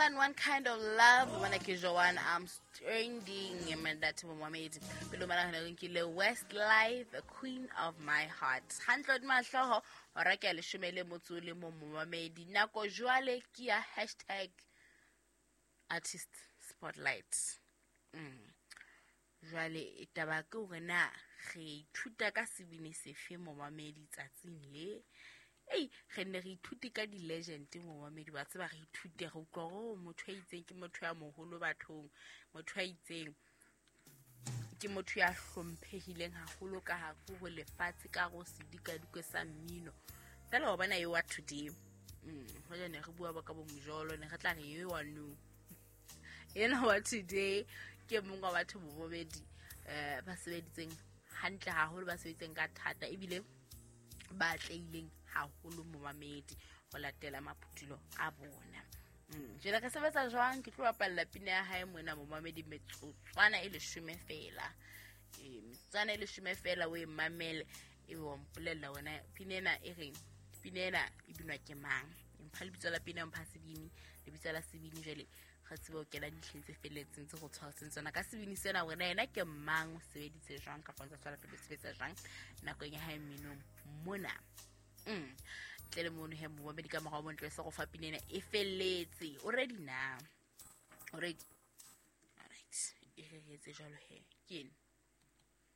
Than One Kind of Love, bona ke Joan Armstrong mandate momamedi. Pele mana re nkile Westlife, Queen of My Heart. Hantle hodima hlooho hora ke ya 11 momamedi. Nako jwale ke ya hashtag artist spotlight. Jwale taba ke hore na re ithuta ka sebini sefe momamedi tsatsing le. Ei, re nne re ithute ka di-legend momamedi, wa tseba re ithute, re utlwa hore motho a itseng ke motho ya moholo bathong, motho a itseng ke motho ya hlomphehileng haholo ka hare ho lefatshe, ka hare ho sedikadikwe sa mmino. Feela wa bona e wa today. Hoja ne re bua ba ka bo mojolo, ne re tla re e wa no. Ena wa today ke mong wa batho bobedi ba sebeditseng hantle haholo, ba sebeditseng ka thata ebile ba atlehileng haholo momamedi ho latela maphutulo a bona. Jwale re sebetsa jwang? Ke tlo bapalla pina ya hae mona momamedi metsotswana e 10 feela. Metsotswana e 10 feela o e mamele, ebe wa mpolella wena pina ena e reng, pina ena e binwa ke mang. Mpha lebitso la pina, mpha sebini, lebitso la sebini, jwale re tsebe ho kena dintlheng tse felletseng tse go tshwaretseng tsona ka sebini sena, hore na yena ke mang, o sebeditse jwang kapa o ntse tswela pele o sebetsa jwang nakong ya hae mminong mona. Ntle le mono he momamedi, ka morao bontle se go fa pina ena e felletse. O ready na? O ready? Alright, e re etse jwalo he. Ke eno.